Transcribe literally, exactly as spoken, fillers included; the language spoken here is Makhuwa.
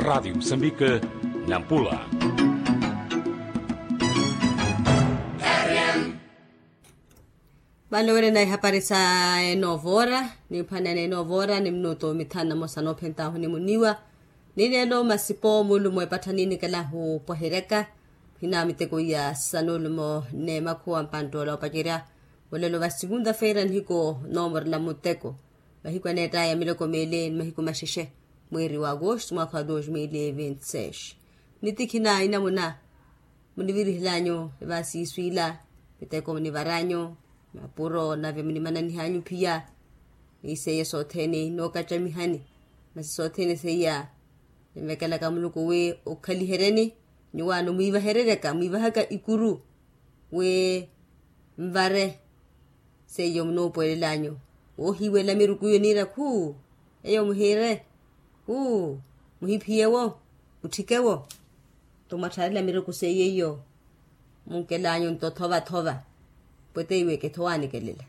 Raadio musambika, nampula. Vale owerena ehapari sa enoovora, nimphwanana enoovora ni minutu mithanu na mosa noophentahu nimuniwa. Ni leelo masipo mulumo epattha niinikelahu pwahiryaka, hina miteko iya sanulumo n'emakhuwa mpanttoola opacerya. Olelo va segunda-feira nihiku noomorela muteko, mahiku aneettaya miloko miili ni mahiku maxexe, mweeri wa agosto mwaakha wa dos mil e vinte seis. Nitikhina inamuna munivirihelanyu evaasiisu ila, miteko munivaranyu, mapuro nave munimananihanyu phiya. Ni seiya sothene nookacamihani, masi sothene seiya ninvekelaka muluku wi okhaliheryeni. Nyuwaano mwiivahereryaka mwiivahaka ikuru wi nvare. Seiyo munoopweelela anyu, woohiiwela miruku iyo niira khuu, eyo muhiire khuu, muhiphiye wo, mutthike wo. Nto mwattharela miruku seiyo iyo munkela anyu nto thova-thova, pwete iwe ketho waanikelela.